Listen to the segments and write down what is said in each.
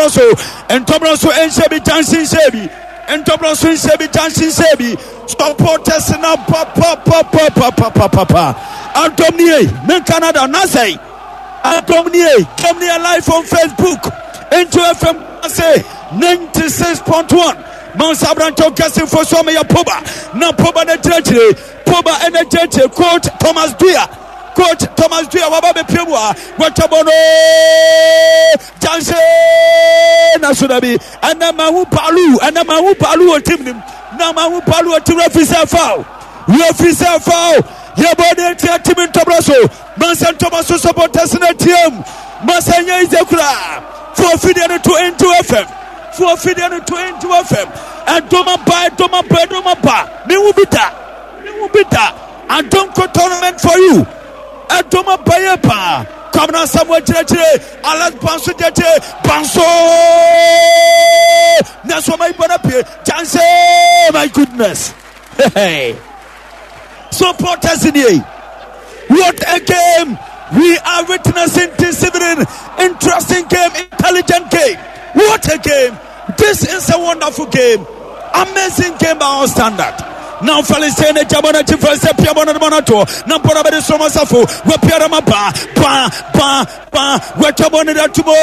ntɔbrɔ so, ntɔbrɔ so nhyɛ bi, Junction nhyɛ bi, ntɔbrɔ so nhyɛ bi, Junction nhyɛ bi. Supporters na pa pa pa pa pa pa pa pa pa. Adom nie, me Canada nasɛe. Adom nie, dom nie live on Facebook. Into FM ase 96.1. Mansa aberanteɛ ɔkɛse so ameyɛ poba na poba no akyerɛkyerɛ poba ɛna akyerɛkyerɛ coach Thomas Dua coach Thomas Dua waba bɛpie mu a wɔtwa bɔ no gyanse na so da bi ɛna mahu palu ɛna mahu palu wɔ tim nim na mahu palu wɔ tim refi sɛ foul refi sɛ foul yɛbɔ ne atia tim ntɔbrɛ so mansa ntɔma so supporters no atiam mansa nyɛ ize koraa fo afidie no to into fm fo afidie no to into fm ɛdɔm aba ɛdɔm aba ɛdɔm aba mehu bi da mehu bi da adonko tournament for you ɛdɔm aba yɛ paa kwamina samuel kyerɛkyerɛ alex banso gyɛkyɛ banso nanso ɔma ibɔ no pie chance my goodness hey. Supporters nie. What a game we are witnessing this evening. Interesting game, intelligent game. What a game. This is a wonderful game. Amazing game by all standard. Now Felicien Jabona Chifese Piabona Monato, Nampora Bede Sofo, Wapiarama Ba, Ba, Ba, Ba, Watabona Tumo,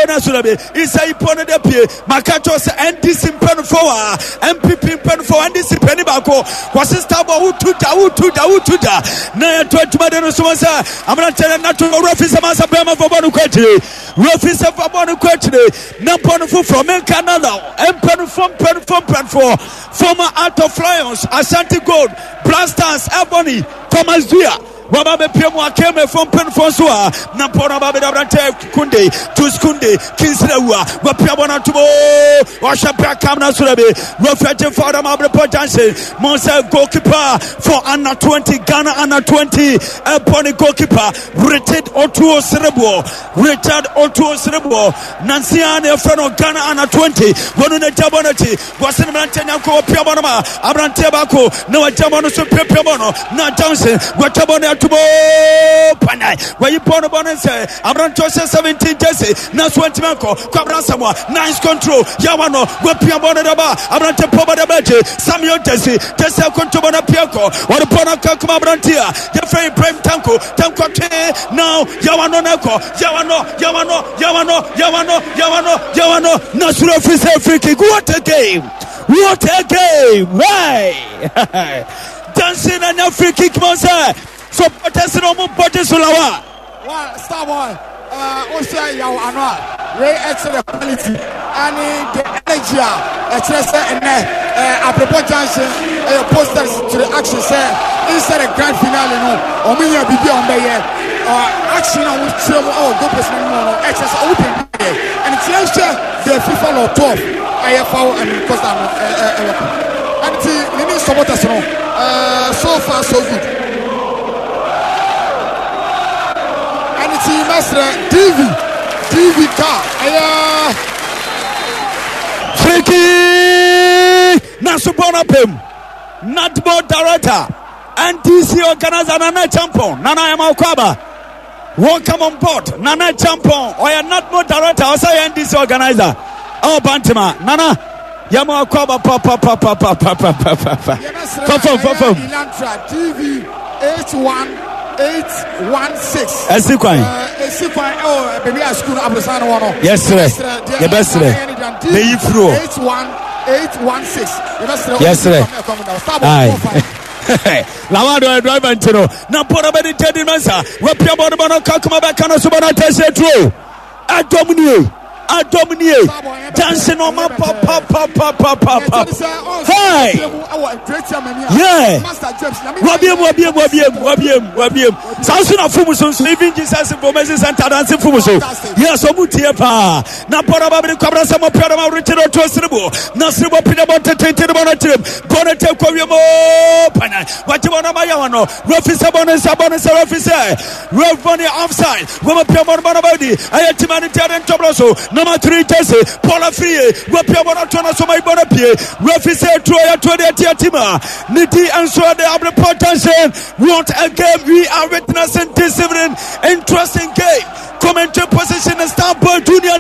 Nasurabe, Isai Pona de Pie, Makato NDC Mpanimfoɔ a NPP mpanimfoɔ NDC panin baako wɔsi starboy wotu da wotu da wotu da na yɛto adwuma de no so wɔn sɛ aberanteɛ no nato owura fi sɛ mansa bɛrima fɔ bɔ no kɔ akyire wura fi sɛ fɔ bɔ no kɔ akyire na mpɔ no foforɔ menka nana mpanimfoɔ mpanimfoɔ mpanimfoɔ former Art of Lions Ashanti Gold Blasters Ebony Thomas Dua Waba bɛpia mu akemefo mpanyinfoɔ nso a na mpɔ no aba bɛda aberantɛ kunde tus kunde kinsira wua wapia bɔ no atom oo ɔhyɛ bra kam no soro bi wɔfɛ gye fa ɔdam abrepɔ junction mo sɛ goalkeeper for under 20 Ghana under 20 ɛbɔ ne goalkeeper Richard Otuo Sereboɔ Richard Otuo Sereboɔ nansia na ɛfrɛ no Ghana under 20 wɔno na gya bɔ no akyi Wɔse no mmeranteɛ nyanko wɔpia bɔ no ma aberanteɛ baako na wagya bɔ no so piapia bɔ no na Johnson wɔtwa bɔ no ato mu panyan wɔyi bɔ no bɔ no nsɛ aberanteɛ ɔhyɛ 17 jersey na so antimi ankɔ Kwabena Asamoah nice control yawa no wɔpia bɔ no daba aberanteɛ pɔ bɔ daba akyi Samuel jersey jersey akonto bɔ no apia kɔ wɔde bɔ no aka kuma aberanteɛ a yɛfrɛ Ibrahim Tanko Tanko twe now yawa no na ɛkɔ yawa no yawa no yawa no yawa no yawa no yawa no na soro firi sɛ free kick. What a game, what a game. Hey, dancing and a free kick man sɛ supporters no ɔmo bɔgye so lawa. Wa Starboy wohwɛ yaw ano a wei ɛkyerɛ quality ɛne the energy a ɛkyerɛ sɛ ɛnɛ Abrepɔ Junction ɛyɛ posters to the action sɛ inside the grand finale no wɔn nyɛ biribi a wɔn bɛyɛ action a wɔn kyerɛ mu ɛwɔ goal post no mu no ɛkyerɛ sɛ wɔn pɛ bi yɛ ɛne kyerɛ hwɛ the FIFA law 12 ɛyɛ foul and costa no ɛwɔ kɔ ɛne ti ne ne supporters no so far so good ɛne ti mɛsrɛ DV DV car ɛyɛ. Friki nanso bɔ no apem Natmo director NDC organizer Nana Champon Nana Emma Okwaba welcome on board Nana Champon ɔyɛ Natmo director ɔsɛ yɛ NDC organizer ɛwɔ Bantama Nana yɛma Okwaba papapapapapapapa fafam fafam Elantra DV 81816 ɛsi kwan ɛsi kwan ɛwɔ baabi a sukuu no aborosan no wɔ no yɛsrɛ yɛbɛsrɛ meyi firi hɔ 81816 yɛbɛsrɛ yɛsrɛ ae lawado ɔyɛ driver nti no na bɔɔl bɛde gyadi mensa wapia bɔɔl bɔ no kakoma bɛka no so bɔ no atɛsɛ turo adɔm nie adɔm nie jansi no ɔma papapapapapa hey yeah wabiem wabiem wabiem wabiem wabiem saa nso na fom so nso even Jesus information center danse fom so yes ɔmo tie paa na bɔɔl ba bɛde kwabra sɛ mo pia dɔm awurekye no to siribo na siribo pia bɔ tententen bɔ no kyerɛm bɔ no tɛ kɔ wiem oo panyan wagye bɔ no ama yɛ wɔn no refi sɛ bɔ no nsa bɔ no nsa refi sɛ ref bɔ no offside wɔn pia bɔ no bɔ no bɔ di ɛyɛ tima no tiade ntɔbrɔ so nama tiri gyesi paul afiriye wɔpia bɔ no to no so ma ibɔ no pie refi sɛ tuo yɛ tuo deɛ tia tima ne di nso de abrepɔ junction. What a game we are witnessing this evening. Interesting game. Commentary position is Starboy Junior.